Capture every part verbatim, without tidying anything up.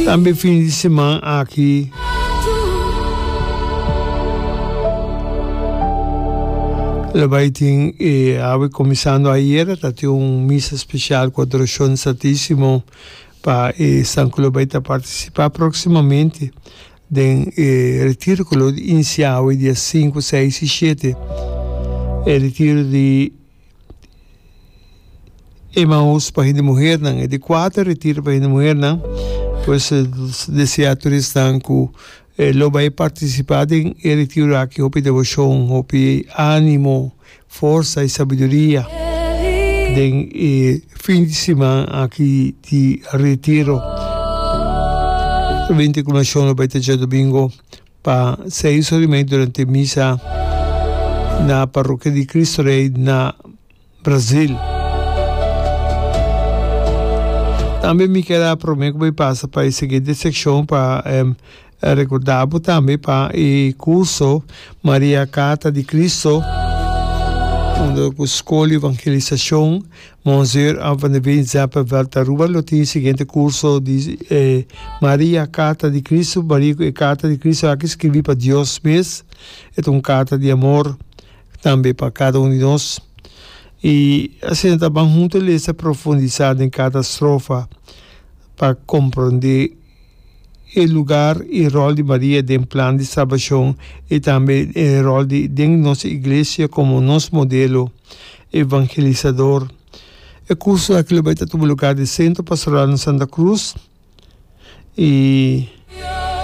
Tambe fin di siman aki lo bai tin e awe kuminsando ayera ta tin un misa spesial ku adorashon Santisimo pa esnan ku lo bai ta partisipá próksimamente den e retiro ku lo inisiá awe dia sinku, seis i shete. E retiro di Emaús pa hende muhernan, e di kuater retiro pa hende muhernan, pues deseá tur esnan ku lo bai partisipá den e retiro aki hopi deboshon, hopi ánimo, forsa i sabiduria den e fin di siman aki di retiro. Binti kulminashon lo bai ta djadumingu pa seis ora i mei durante misa na Parrokia di Cristo Rey na Brazil. Tambe mi kier a prome ku bai pasa pa e siguiente sekshon pa rekorda bo tambe pa e kurso Maria Karta di Cristo unda ku Skol Evangelisashon Monsieur A. Van der Veen Zeppenveld Aruba lo tin e siguiente kurso di Maria Karta di Cristo. Maria e Karta di Cristo aki skribi pa Dios mes. E ta un karta di amor tambe pa kada un di nos. I asina ta ban huntu lesa profundisá den kada strofa pa komprondé e lugar i ròl di Maria den plan di salbashon i tambe e ròl di den nos iglesia komo nos modelo evangelisador. E kurso aki lo bai ta tuma lugar den Sentro Pastoral na Santa Cruz. I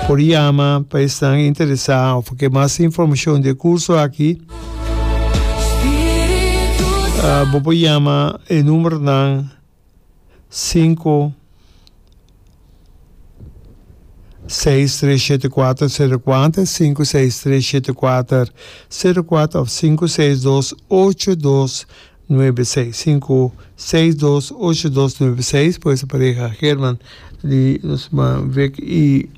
por yama pa esnan interesá òf ke mas informashon di e kurso aki, bo por yama e numbernan sinku seis tres shete kuater sero kuater, sinku seis tres shete kuater sero kuater òf sinku seis dos ocho dos Nuebe seis sinku seis dos ocho dos nuebe seis por esa pareha Herman di nos man Vic y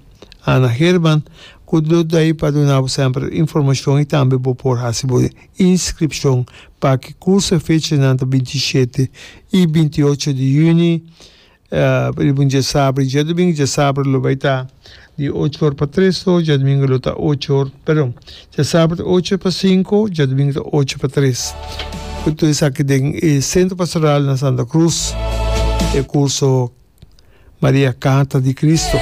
Ana Herman cu lo dai pa duna bo semper informacion y tambe bo por haci bo inscripcion pa ki curso e fechanan ta binti i shete y binti i ocho di juni. Riba un djasabra i djadumingu. Djasabra lo bai ta di ocho or pa tres or, djadumingu lo ta ocho or, perdon, djasabra ta ocho pa sinku, djadumingu ta ocho pa tres. Ku tur esaki den e Sentro Pastoral na Santa Cruz, e kurso Maria Carta di Cristo.